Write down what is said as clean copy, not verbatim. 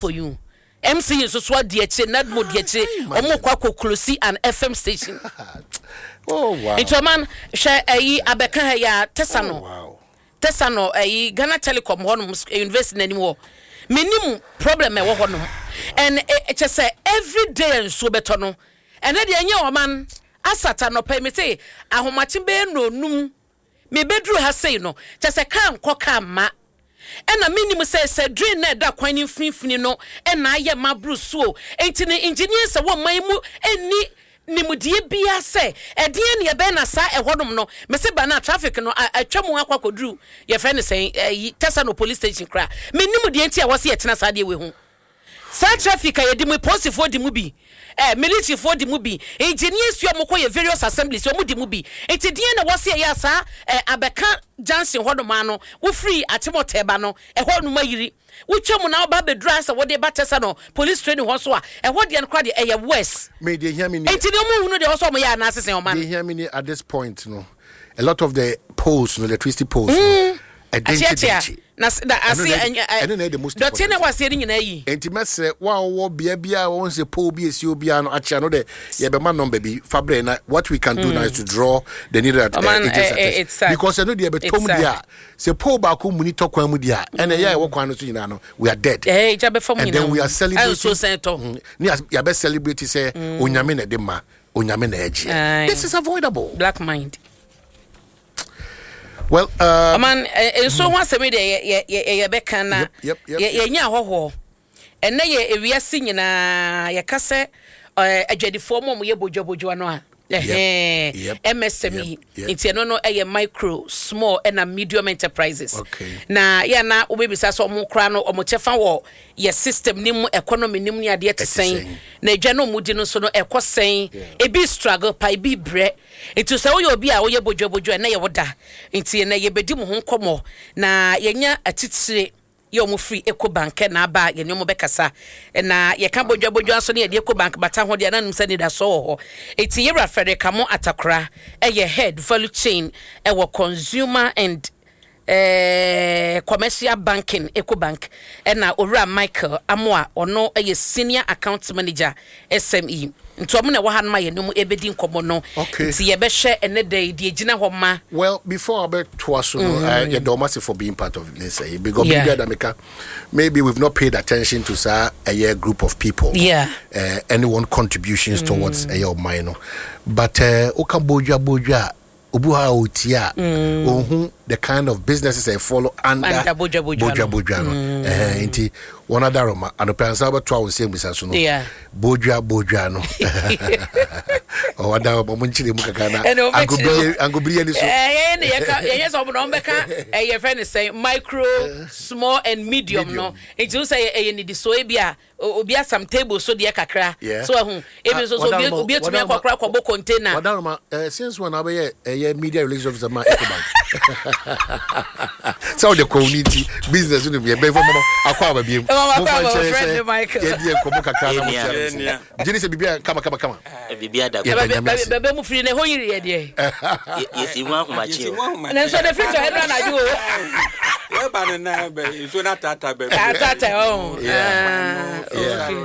For you. MC nso so adi akyire, Nadmo di akyire, wɔn kɔ akɔ close an FM station. Oh, wow. Nti ɔman hwɛ ɛyi abɛka ha yi a tɛsa no. Oh, wow. Tɛsa no ɛyi Ghana Telecom hɔ nom university n'anim hɔ. Menim problem ɛwɔ hɔ nom. And kyɛ sɛ every day nsuo bɛtɔ no. Ɛnɛ deɛ ɛnyɛ ɔman asata nɔpɛ yi mese ahomakye bɛyɛ nnɔnum mebɛduru ha sei no kyɛ sɛ kaa nkɔ kaa mma. Ɛna mennim sɛ sɛ drain no a ɛda kwan no mfinimfini no na ayɛ ma aboro so o. Enti no engineers a ɛwɔ ɔman yi mu nni nimdeɛ biara sɛ ɛdeɛn na ɛbɛyɛ na saa ɛhɔnom no, mese ba no a traffic no atwa mu akɔ akɔduru yɛfrɛ no sɛn ɛyi Tesano police station koraa. Mennim deɛ nti a ɛwɔ sɛ yɛtena saa adeɛ wei ho. Saa traffic a yɛdi mu yi, polisifoɔ di mu bi, eh, militaryfoɔ di mu bi, engineers yi a wɔkɔ yɛ various assemblies yi, wɔn di mu bi. Nti deɛn na wɔse ɛyɛ a saa eh, abɛka junction hɔ nom ara no, wofiri Akyemɔtɛ ba no, ɛhɔ nom ayiri. Wotwa mu na woba abɛduru ara sɛ wode ba Tesano police training hɔ nso a, ɛhɔ deɛ no koraa deɛ ɛyɛ worse. Me deɛ hia me nie. Nti deɛ wɔn nhunu deɛ ɛwɔ sɛ wɔyɛ anaa sesɛn ɔman. Deɛ hia me nie at this point no, a lot of the poles no, electricity poles no, Akyeakyea na na ase ɛno na the most dɔteɛ na ɛwɔ aseɛ no nyinaa yi. Nti mɛsrɛ wo a wowɔ bea bi a wɔn sɛ pole bi esi obiara no akyea no dɛ yɛbɛma number bi fa brɛ na what we can do now is to draw the needle at agents attention because ɛno deɛ ɛbɛtɔ mu deɛ a sɛ pole baako muni tɔ kwan mu deɛ a ɛna ɛyɛ a ɛwɔ kwan no so nyinaa no we are dead and then we are celebrating ne yɛabɛ celebrate sɛ onyame na ɛde ma onyame na ɛgyeɛ. This is avoidable. Black mind. Well, ɔman nsuo ho asɛm yi deɛ yɛbɛka na yɛnya ahɔhoɔ. Ɛnɛ yɛ ewiase nyinaa yɛka sɛ adwadifoɔ mu a wɔyɛ bodwabodwa no a MSME nti ɛno no ɛyɛ micro, small ɛna medium enterprises. Na yɛ na wobɛbisa sɛ wɔn koraa no wɔn kyɛfa wɔ yɛ system no mu, economy no mu ne adeɛ te sɛn, na adwa no wɔn di no nso no ɛkɔ sɛn, ebi struggle pa, ebi brɛ. Nti sɛ woyɛ obi a woyɛ bodwabodwo a, ɛnnɛ yɛ wo da. Nti ɛnnɛ yɛbɛdi mo ho nkɔmmɔ na yɛanya atitire yɛ wɔn firi Ecobank na aba a yɛne wɔn bɛkasa. Na yɛka bodwabodwa nso ne yɛde Ecobank bata ho deɛ na nim sɛ anidasoɔ wɔ hɔ. Nti Yɛwura Frederick Amo Atakora yɛ Head Value Chain wɔ Consumer and eh, Commercial Banking, Ecobank, ɛna Owura Michael Amoah, ɔno yɛ Senior Account Manager, SME. Nti ɔmo na ɛwɔ ha nom a yɛne ɔmo ɛbɛdi nkɔmmɔ no. Okay. Nti yɛbɛhwɛ ɛnɛ da yi deɛ ɛgyina hɔ ma. Well, before abɛtoa so no, yɛda ɔmo ase for being part of this ɛyi because Yeah. biribi a da meka, maybe we've not paid attention to saa ɛyɛ group of people. Yeah. Ɛne wɔn contributions towards ɛyɛ ɔman no. But woka bodwa bodwa a, Obi wɔ hɔ a ɔtie a, ɔnhu the kind of businesses a follow under Under bodwa bodwa no. bodwa bodwa no. Ɛhɛn, nti wɔn adaroma anɔpɛ ansa wobɛtoa wo nsɛm bisa so no. Yeah. Bodwa bodwa no. Ɔwɔ adaroma mo nkyerɛ mu kakra na Ɛna wɔbɛkyerɛ angobiri angobiri ani so. Eh, yɛn ne yɛka yɛnyɛ sɛ ɔmo na ɔmo bɛka ɛyɛ fɛ ne sɛn micro, small and medium no. Nti wo sɛ ɛyɛ nidisoɔ ebi a Obi asam table so deɛ kakra. Yeah. So ahu. Ebi nso so obi obi atumi akɔ akora akɔbɔ container. Wadaroma, eh, since when abɛyɛ ɛyɛ media relations officer ma Ecobank? Sɛ ɔde kɔn ni ti business no yɛ bɛn fɔ mɔmɔ akɔ aba biem. Mɔmɔ akɔ aba friend Michael. Yɛ di nkɔmɔ kakra na mo ti ano. Gye ne sɛ biribi a kama kama kama. Biribi ada Yɛda Nyame ase. Bɛbɛ mu firi na ɛhɔ yiri yɛ deɛ. Yɛsi mu ahomakye o. Na nso de firi tɔ ɛnu anadwo o. Yɛba no na nsuo no ataata baabi. Ataata ɔn. Yeah.